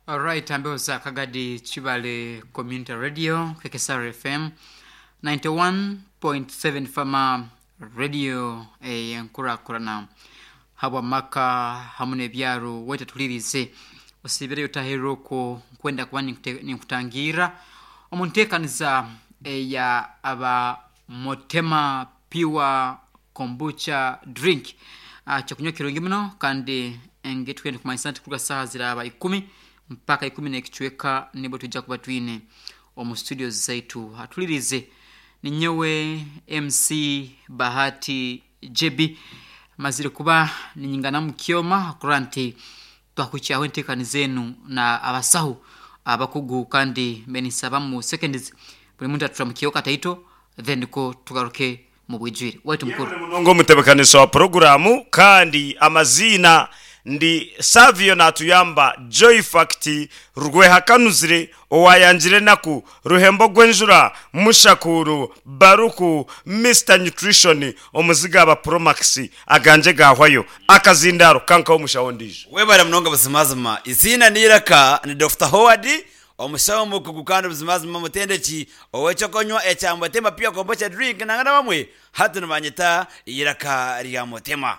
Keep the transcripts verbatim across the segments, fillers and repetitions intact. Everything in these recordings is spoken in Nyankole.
Alright, ambeho za Kagadi Chibale Community Radio, K K S R F M ninety-one point seven Fama Radio, eyenkurakurana habwa maka hamu n'ebyaro. Weta tulirize osibireyo taherera okwo nkwenda kuba ninkute- ninkutangira omu nteekaniza eya aba Motema Pure Kombucha Drink. Ah, kyokunywa kirungi muno, kandi nge twende kumanyisa nti kuruga saaha ziraba ikumi mpaka ikumi n'ekicweka nibwo tujja kuba twine omu studio zaitu. Atulirize, ninyowe M C Bahati J B, mazire kuba ninyingana mukyoma kurora nti twakukyaho enteekaniza enu na abasahu abakugu, kandi mbe mu seconds buli muntu atura mukyeho kataito, then ko tugaruke mu bwijwire. Waitu mukuru. Munongo omutebekanisa wa poroguramu, kandi amazina ndi Savio natuyamba Joy Fact Rwehakanuzire owayangire naku ruhembo gw'enjura mushakuru baruku Mister Nutrition omuziga aba Promax aganje gahwayo akazindaro kankaho omushaho ndijo. Webale munonga. Buzimazima izina niraka ni Doctor Howard, omushaho mukugu kandi buzimazima mutendeki ow'ekyokonywa ekya Mutema Pure Kombucha Drink. Nangana bamwe hati nibanyeta iraka rya Mutema.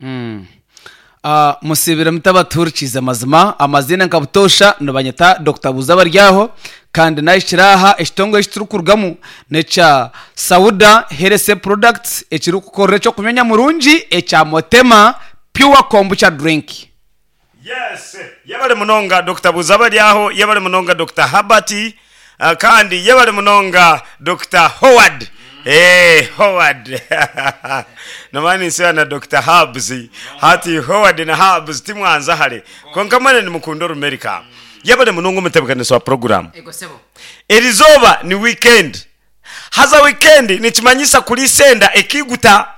Mm. Uh, musibire mutabaturikiza amazima, amazina nka butosha nibanyeta Doctor Buza baryaho, kandi nahikiraha ekitongore ekiturukurugamu nekya Sauda Health Products, ekirikukorera ekyokunywa murungi ekya Motema Pure Kombucha Drink. Yes, yabale munonga Doctor Buzabaryaho, yabale munonga Doctor Habert, uh, kandi yabale munonga Doctor Howard. Eh, Howard nomani nsiba na Doctor Hubs, hati Howard na Hubs timwanza hale, konka mwene nimukunda orumerika. Yabale munonga omutebekanisa wa program. Ego sebo. Erizoba ni weekend, haza weekend nikimanyisa kulisenda ekiguta,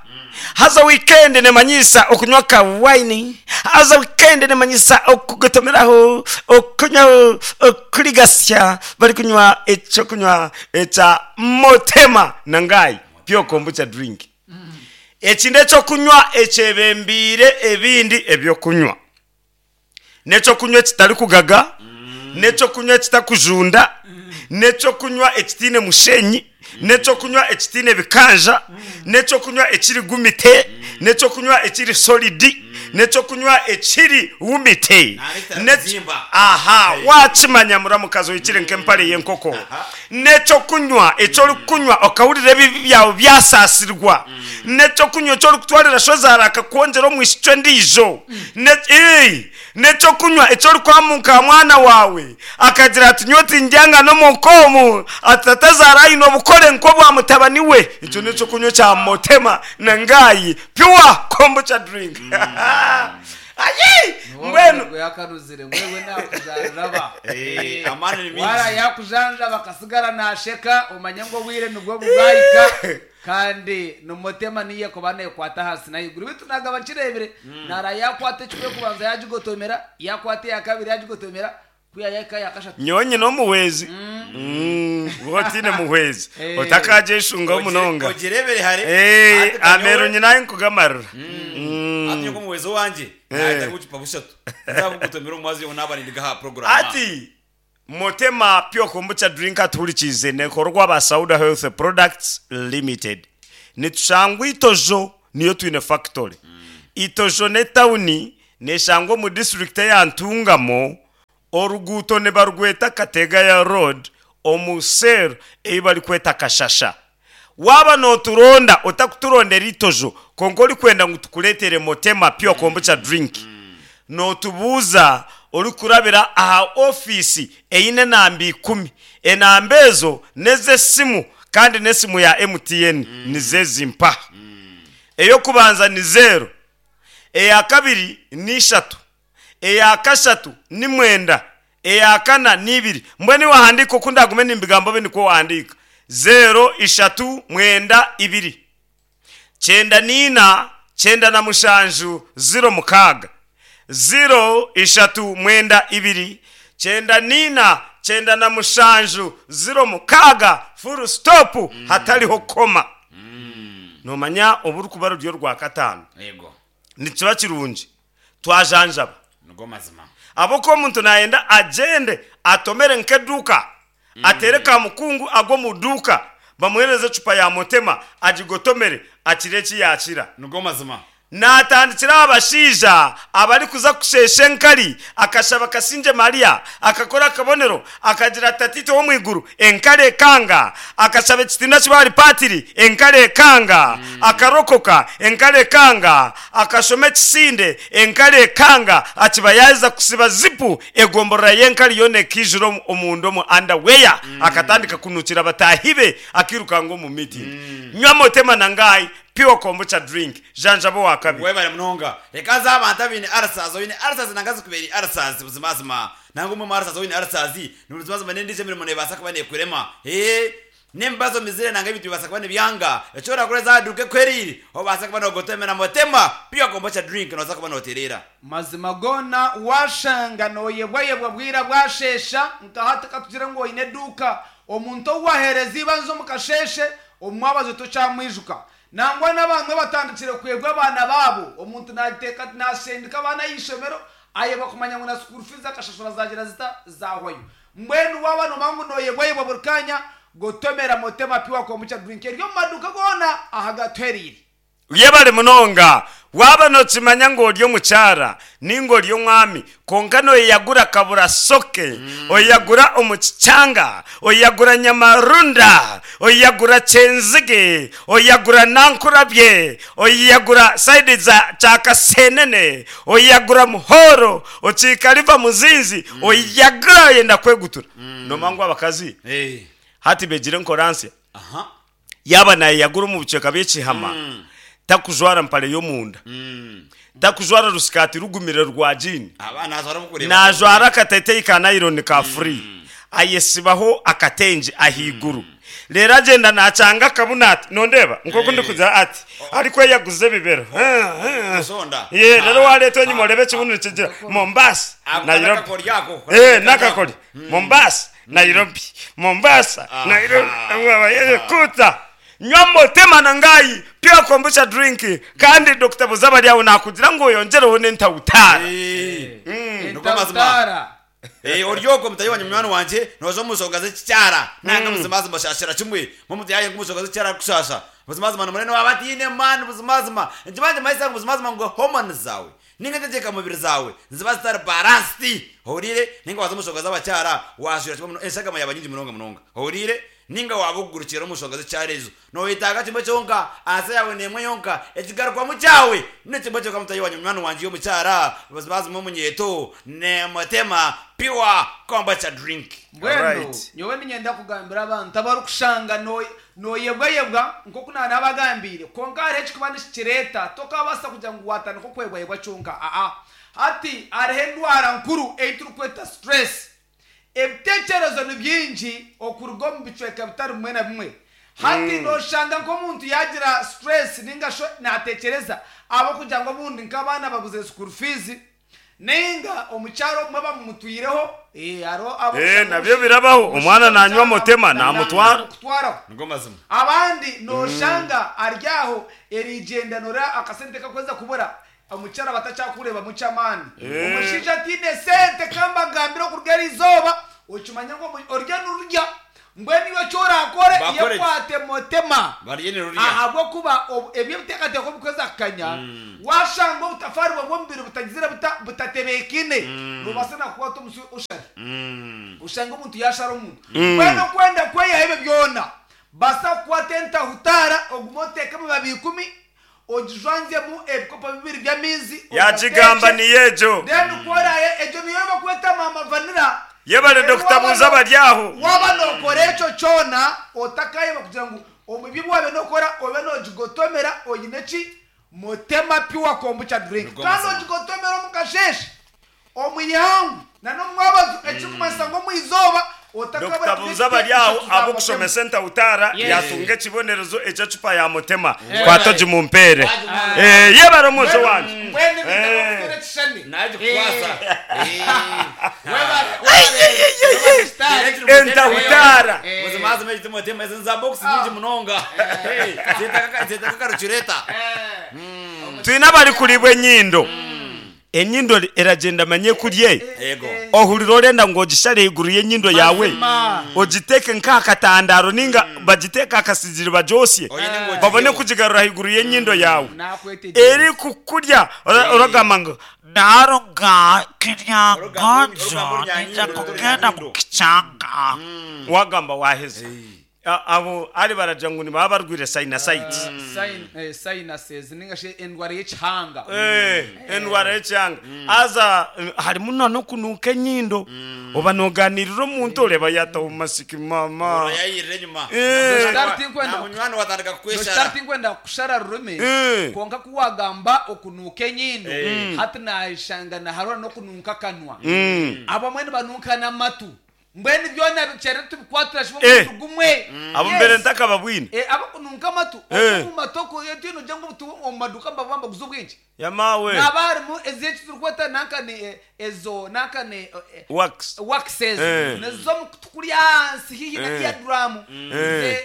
haza weekend nemanyisa okunywa ka wine, haza weekend nemanyisa okugotomeraho, okunywaho, okuligasya bari kunywa ekyokunywa ekya Motema nangai Pure Kombucha Drink. Eki nekyokunywa ekyebembiire ebindi ebyokunywa, nekyokunywa ekitari kugaga, nekyokunywa ekitakujunda, nekyokunywa ekitiine mushenyi, nekyokunywa ekitiine bikanja, nekyokunywa ekiri gumite, nekyokunywa ekiri solid, nekyokunywa ekiri wumite. Nta Aha, wakimanya muramukazi oyikire nk'empare y'enkoko. Nekyokunywa ekyorikunywa okahurira ebibi byawe byasasirwa, nekyokunywa ekyorikutwarira shozara akakwongyera omwishiki endiijo. Ne- Ii, nekyokunywa ekyorikwamuka mwana wawe akagira ati nyowe tindyanga n'omukomu, ati tatazaara aine obukore nk'obwa mutabani we. Ekyo nekyokunywa kya Motema nangayi Pure Kombucha Drink. Ayi, mbwenu Yakanuzire mwewe nakujanjaba. Eh, amani ni mingi. Wara yakujanjaba akasigara nasheka, omanye ngu obwire nibwo bwahika, kandi nomutema niye kuba nekwata hasi nahiguru bitu nagaba nkirebire nara yakwata ekikwe kubanza yagigotomera, yakwata eya kabiri yagigotomera, kuyayaka yakashatu. Nyowe nyine omuhwezi wotine muhwezi. Eh. Otakagyeshungaho munonga. Ogirebere hare. Eh, Ati kanyowe- amero nyina nkugamarira. Mm. Ati nyoko muwezo wanje nahita gucupa bushatu nzabugutomera omumazi yo naba nindigaha program. Ati Motema Pure Kombucha Drink atuhurikize nekorwa ba Sauda Health Products Limited. Nitushangwa Itojo, niyo twine factory. Itojo ne tawuni neshangwa mu district ya Ntungamo, oruguto ne barugweta Kategaya Road, omu cell ei bari kweta Kashasha. Waba noturonda, otakuturondera Itojo, konka orikwenda ngu tukuretere Motema Pure Kombucha Drink, notubuuza orikurabira aha ofiisi eine enamba ikumi. Enamba ezo nez'esimu, kandi n'esimu ya M T N. Nizezimpa: eyokubanza ni zero, eya kabiri ni ishatu, eya kashatu ni mwenda, eya kana ni ibiri. Mbwenu wahandika oku ndagume nimbigambo be nikwo wahandika: zero, ishatu, mwenda, ibiri, cyenda nina, cyenda na mushanju, zero, mukaaga. Zero, ishatu, mwenda, ibiri, cyenda nina, cyenda na mushanju, zero, mukaaga, full stop, hatariho koma. Nomanya obu rukuba ruryo rwa kataano. Yego. Nikiba kirungi twajanjaba. Nigo mazima. Aboko omuntu nayenda agende atomere nk'eduuka, atere kamukungu agwe omu duuka, bamuhereze ecupa ya motema agigotomere akire eki yakira. Nigo mazima. Natandikira abashaija abarikuza kushesha enkari, akashaba Kasingye Maria, akakora akabonero, akagira tatito w'omu iguru, enkari ekanga, akashaba ekitinwa kibari patiri, enkari ekanga, akarokoka, enkari ekanga, akashoma ekisinde, enkari ekanga, akiba yaza kusiba zipu, egomborora y'enkari yoona ekijura omu- omunda omu underwear, akatandika kunukira bataahi be, akirukanga omu meeting. Nywa motema nangai pure kombucha drink, janjabo wa kabi. Webale munonga. Reka nze abantu abaine ulcers, oine ulcers nanga zikubeire ulcers buzimazima. Nanga omwe mu ulcers oine ulcers, ni buzimazima n'endiijo emirimo neebaasa kuba neekurema. Ee, n'emibazo mizire nanga ebintu bibaasa kuba nibyanga. Eki orakora eza duuka ekwereire, obaasa kuba noogotomera motema pure kombucha drink nooza kuba nootereera. Mazima goona washanga noyebwayebwa bwira bwashesha, nkahati katugire ngu oine eduuka, omuntu ou wahereza ibanza omu kasheshe omwabazo tokyamwijuka. Nangwa n'abantu abatandikire kwebwa abaana baabo, omuntu nateeka nasendika abaana y'ishomero ayebwa kumanya ngu na school fees akashashura zagira zita zahwayo. Mbwenu waba nomanya ngu noyebwayebwa buri kanya, gotomera motema pure kombucha drink eri omu maduuka goona ahagatwerire. Yebale munonga. Waba nokimanya ngu ori omukyara ninga ori omwami, konka noyeyagura kabura soke, oyeyagura omu kikyanga, oyeyagura nyamarunda, oyeyagura kyenzige, oyeyagura nankurabye, oyeyagura saidi za kyakasenene, oyeyagura muhoro, okiikariva muzinzi, oyeyagura oyenda kwegutura. Nomanya ngu abakazi Eh. hati begire enkoransi, Aha. yaba nayeyagura omu bucweka bw'ekihama, takujwara mpale y'omunda, takujwara rusikati rugumire rwa jean, Aba naazwara bukureba. najwara akateteyi ka nylon ka free, ayesibaho akatenje ahaiguru, rero agenda nakyanga akabuna ati nondeeba nkoku ndikugira ati arikweyaguza ebibero. Kusonda. Ye rero wareeta enyima orebe ekibunu nikigira Mombasa, Ako Nairobi. n'akakori ako. Eh, nakakori Mombasa, Nairobi, Mombasa, Nairobi, kuta. Nywa motema nangai pure kombucha drink, kandi Dr Buzabari aho nakugira ngo yongereho n'entawutara. Eh. Niko mazima. Entawutara. Eh, oryoko mutayi wanje munywani wanje noza omusonga z'ekikyara nanga buzimazima shashira kimwe mumutu yaye nk'umusonga z'ekikyara kushasha buzimazima nomurene waba atiine mani buzimazima nkibanje maisa ngu buzimazima ngu hormones zawe ninga entegeka mubiri zawe niziba zitari balanced ohurire, ninga waza omusonga z'abakyara washura kimwe muno eshagama yaba nyingi munonga munonga ohurire, ninga waba okugurukira omusonga z'ekyara ezo noyetaaga kimwe kyonka ansa yawe nemwe yonka ekigarukwamu kyawe nekimwe kyonka mutayi wanje munywani wanje y'omukyara buzimazima omunyeto nemotema pure kombucha drink. Mbwenu Alright. nyowe ninyenda kugambira abantu abarikushanga no- noyebwayebwa nkoku nanabagambiire, konka hariho ekikuba nikikireeta, tokabaasa kugira ngu watandika okwebwayebwa kyonka aa. Hati hariho endwara nkuru ei turikweta stress. Ebiteekyerezo ni bingi okuruga omu bicweka bitari bimwe na bimwe. Hati noshanga nk'omuntu yagira stress ninga sho nateekyereza abakugira ngu obundi nk'abaana babuze school fees, ninga omukyaro omwe bamumutwireho, eh, hariho abo- Eh, nabyo birabaho. Omwana nanywa motema, namutwara. Kutwaraho. Nigo mazima. Abandi noshanga aryaho erigendanura akasente kakweza kubura, omukyara batacyakureba mukyamaani, omushaija atiine sente. Kambagambira okuruga eriizooba okimanya ngu omu- orya nururya, mbwenu iwe ekyorakore, Bakore ki? yekwate motema. Barye nirurya. Ahabwokuba obu- ebyo ebiteekateeko bikweza kukanya, washanga obutafaari bwe bw'omubiri butagizire buta- butatebeekine, nobaasa nakukwata omusi oshari, oshanga omuntu yashara omuntu. Mbwenu okwenda kweyaho ebyo byona, basa kukwata entahutara, ogume oteeke amababi ikumi, ogijwanzemu ebikopo bibiri by'amaizi, Yakigamba. ogateeke. Niyejo. Then kworaye egyo niyo bakweta mama vanilla. Yebale Rero Dr waba Buza no- bari aho. waba nokora ekyo kyona otakayeba kugira ngu omubi bwabe nokora obe nogigotomera oyine ki motema pure kombucha drink, Niko kandi mazima. ogigotomera omu kasheshe, omuyangu na n'omwabazo, ekirikumanyisa ngu omwizooba Dr Buza bari aho abokushomesa entawutara, yatunga ekibonerezo ekyecupa ya motema, kwata ogimumpere. Eh, yebale omwojo wanje. Eh. Nagikukwasa. Entahutara. Buzimazima ekiti motema ezi nza box nyingi munonga zetaka karuchureta. Twine abari kuribwa enyindo. Enyindo eragenda manye kurye. Yego. Ohurira orenda ngu ogishare ahaiguru y'enyindo yaawe, Mazima. ogiteeke nk'ahakatandaro ninga bagiteeke aha kasigiri bagyosye, Oine ngu babone ogiheho. kugigarura ahaiguru y'enyindo yaawe. Nakwetegyereza. Eri kukurya ora- oragamba ngu Naruga kirya Orugamba- ngonjo orugamba orunyanya nija nyindo, kugenda orunyanya mu kichanga. wagamba waheza. A- Abo ari baragira ngu nibaba barwire sinusitis. Sin- eh, sinuses ninga shi endwara y'ekihanga. Eh, endwara y'ekyanga aza eh, harimu na n'okunuuka enyindo, oba noganirira omuntu oreba yataho masiki mama. Yayirira enyuma. Eh. Start kwenda- Na munywani watandika kukweshara. Start kwenda kushara rurimi, Eh. konka kuwagamba okunuuka enyindo, hati nashanga naharora n'okununka akanwa, abamwe nibanunka n'amatu, mbwenu byona bikyere tubikwatira kimwe Eh. omuntu gumwe. Abo Yes. mbere ntakababwine. Eh, abakununka amatu Eh. omu matoko yetwino ujya ngo ubu omu maduka mbabamba guza obwingi, yamawe naba harimu ezeki turikweta nankane eh, ezo nankane eh, eh, wax waxes Eh. nizo tukuri ahansi hihi na Eh. eardrum, Eh.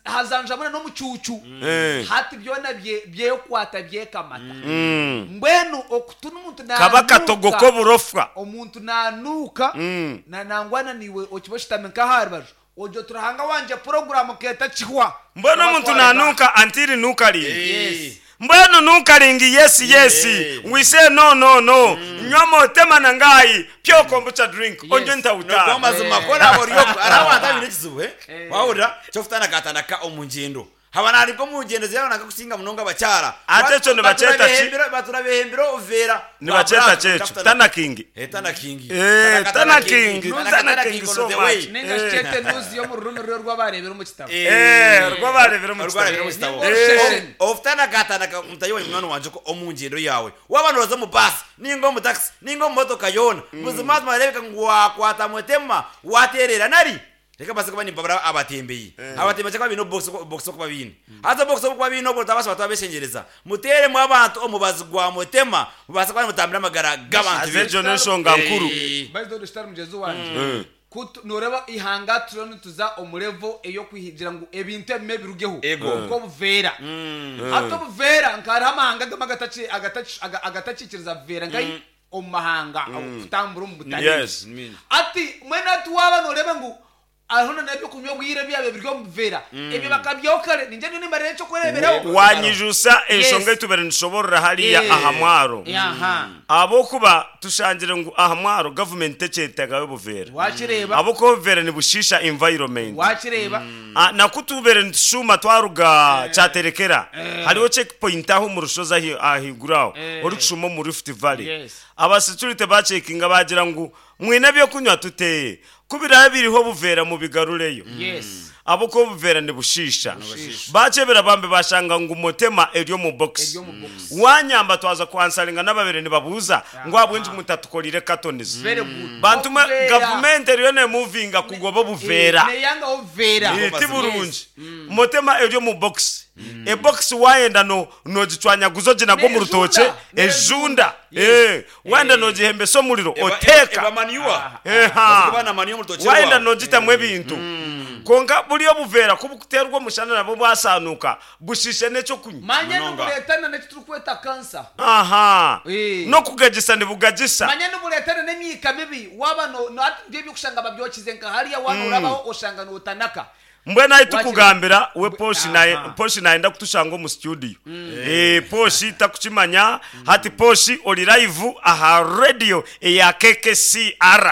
hazanjamuna n'omucucu, Eh. hati byona bye- byekwata byekamata. Mm. Mbwenu okutuna omuntu Kaba katogo nanuuka, k'oburofwa. omuntu nanuuka, Mm. na nangwana niwe okiba oshutami nk'aha rubaju ojo turahanga wanje poroguramu keta kihwa. Mbwenu omuntu nanuuka antiri nukaringi. Yes. Mbwenu nukaringi, yes yes we say no no no, nywa motema nangayi pure kombucha drink onjo Nogwo ntawutana. mazima kora oryoko ari abantu abine ekizibu eh wahurira kyokutana katanaka omu ngyendo haba nariko omu ngyendo zirabona kusinga munonga abakyara. Ate ekyo nibakyeta ki? Batura behembera obuveera. Nibakyeta kyekyo tana kingi. Eh, tana kingi. Eh, tana kingi, Tana tana kingi kingi on so the much. way. Ninga Eh. shikyete nuzi yo mu rurimi rwe rw'abarebera omu kitabo. Eh, rwabarebera omu Rwabarebera kitabo. omu kitabo. Eh. Ofutana katanaka mutayi munywani wanje ko omu ngyendo yawe waba noza omu basi ninga omu taxi ninga omu motoka yoona, buzima mazima arebeka ngu wakwata mutema waterera nari reka basi kuba nimbabura abatembeyi abatembeyi cyangwa bino box box kuba bine haza box kuba bine obwo tabasha batabeshengereza muteremu abantu omubazi gwa mutema mubasa kuba mutambira amagara g'abantu. Aze ekyo n'enshonga nkuru. Eh. Bayizi dore mugezi wanje Kutu- noreba ihanga turiyo nituza omu level ey'okwihigira ngu ebintu ebimwe birugeho, Ego. nk'obuveera. Hati obuveera nkahariho amahanga gamwe agataki- agataki- aga- agatakikiriza buveera nkai omu mahanga kutambura omu butare. Yes. Ati mwene ati waba noreba ngu hariho n'ebyokunywa obwire byabo biri omu buveera, ebyo bakabyaho kare, ninje niyo nimbarira ekyokureberaho. Wanyijusa enshonga Yes. etubere nishoborora hariya Eh. aha mwaro, Aha. abokuba tushangire ngu aha mwaro gavumenti tekyetagayo obuveera, Wakireba. abokuba obuveera nibushiisha environment. Wakireba. Ah, nakutubere nitushuma twaruga Kyaterekera, hariho checkpoint aho mu rushozi ahi- ahiguru aho orikushuma omu Rift Valley. Yes. Abasecurity bacekinga bagira ngu mwine ebyokunywa tuteye kubiraba biriho obuveera mubigarureyo, Yes. abokuba obuveera nibushiisha. Bakyebera bambe bashanga ngu motema eri omu box. Eri omu box. Wanyamba twaza kwansaringa n'ababere nibabuuza ngu abwengi mutatukorire cartons. Very good. Bantu mwe, Obuveera. gavumenti eriyo nemuvinga kugoba obuveera. Neyanga obuveera. Eh, ti burungi motema eri omu box, ebox wayenda no nogicwanyaguza oginagwa omu rutookye. Nejunda. Ejunda. Yes. Eh, wayenda nogihembesa omuriro Eba- oteeka. eba manure. Eha. Kuba na manure omu rutookye Wayenda rwawe. nogitamu ebintu, konka buri obuveera kubukuterwa omushana nabwo bwasanuka bushishe n'ekyokunywa. Manya Munonga. niburetana n'ekiturikweta kansa. Aha. Eh. N'okugagisa nibugagisa. Manya niburetana n'emyika mibi waba no no- ati nibyo ebyokushanga babyokize nka hariya wana orabaho oshanga notanaka. Mbwenu ahi tukugambira we poshi naye Aha. poshi nayenda kutushanga omu studio. Eh, poshi takukimanya hati poshi oli live aha radio eya K K C R.